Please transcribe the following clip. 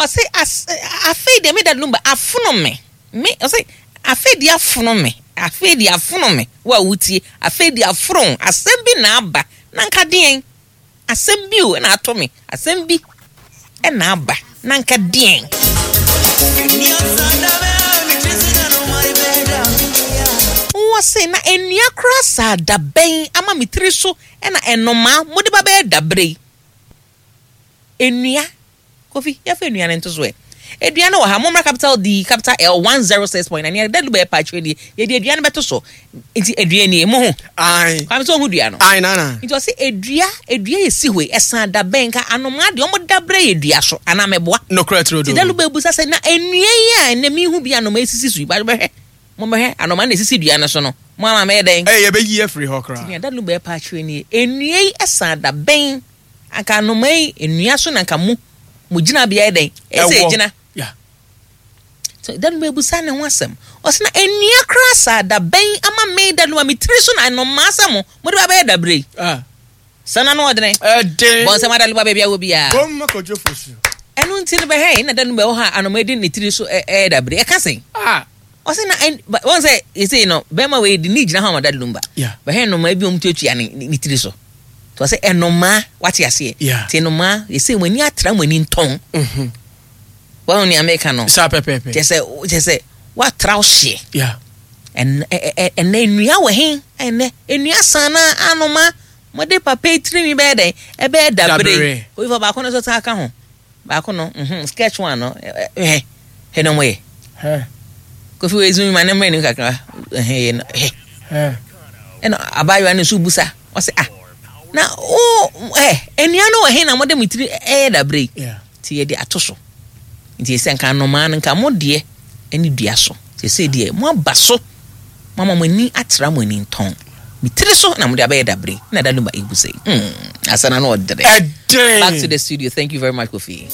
Ɔse as afei deɛ me Daddy Lumba afono me me ɔse afei deɛ afono me afei deɛ afono me wo a wotie afei deɛ afono wo asɛm bi na aba na nka deɛn asɛm bi o na ato me asɛm bi na aba na nka deɛn. Wɔse na nnua koraa saa dabɛn ama me tiri so na nnomaa mode ba bɛyɛ dabere yi. Nnua, Kofi, yɛmfa nnua no nto so ɛ. Dua no wɔ ha, mommra capital D, capital L, 106.9, nea Dadu bɛyɛ paakyerɛ nie, yɛde dua no bɛto so. Nti dua nie, mohu? Ae. Kwame sɛ ohu dua no? Ae, nana. Nti ɔse dua, dua yɛsi hɔ yi, ɛsan da bɛn nka anomaa deɛ ɔmo da berɛ yɛ dua so, anaa mɛboa? Nokorɛ turodoo. Nti Dadu bɛbusa sɛ, na nnua yi a ɛnnɛ mehu bi anomaa esisi so yi, bɛhwɛ, mommɛhwɛ, anomaa na esisi dua no so no, mo ama mɛyɛ dɛn? Ɛɛ, yɛbɛyi afiri hɔ koraa. Nti nea Dadu bɛyɛ paakyerɛ nie, nnua yi ɛsan da bɛn? Anka anomaa yi nnua so na anka mo mo gyinabea yɛ dɛn? Ɛsɛ Ɛwɔ. egyina. Yeah. So da no bɛbusa ne ho asɛm. Ɔsɛ na nnua koraa saa da bɛn ama me da no a me tiri so na anomaa sɛ mo mode ba bɛyɛ dabere yi. Ah. Sɛ na no ɔdene. Ɛden. Bɔ nsɛm adaloba baabi a wɔ biara. Bom ma kɔdwo fosu. Ɛno nti no bɛhɛn na da no bɛwɔ hɔ a anomaa di ne tiri so ɛyɛ dabere. Ɛka sɛn? Ah. Ɔse na ɛn ba wɔn sɛ yɛsei no bɛrima wei de ne gyina hɔ ama Daddy Lumba. Yeah. Bɛhwɛ nnomaa bi a wɔn tuatua ne ne tiri so. Nti ɔse nnomaa wate aseɛ. Yeah. Nti nnomaa yɛsei wɔn ani atra wɔn ani ntɔn. Mhm. Wɔn nea meka no. Saa pɛpɛɛpɛ. Kyɛ sɛ kyɛ sɛ watra wo hyeɛ. Yeah. Ɛnɛ ɛ ɛnɛ nnua wɔ he? Ɛnɛ nnua san na anoma mode papa yi tirinwi bɛyɛ dɛn? Ɛbɛyɛ dabere. Dabere. Oyi fa baako no nso san ka ho. Baako no, mhm, sketch one no, hwɛ, hwɛ na wɔyɛ. Kofi wei zoom ma ne mmerɛ nim kakra, ɛhɛ yɛ no, hwɛ. Ɛna abaayewa no nso busa, ɔsɛ ah, na o, ɛ, nnua no wɔ he na mode mo tiri ɛyɛ dabere yi? Nti yɛde ato so. Nti sɛ nka nnomaa no, nka mo deɛ ɛne dua so. Sɛsɛ deɛ mo aba so. Moama mo ani atra mo ani ntɔn. Me tiri so na mode abɛyɛ dabere. Na da no ba ebu sɛ. Asana no ɔdere. Ɛdere. Back to the studio. Thank you very much, Kofi.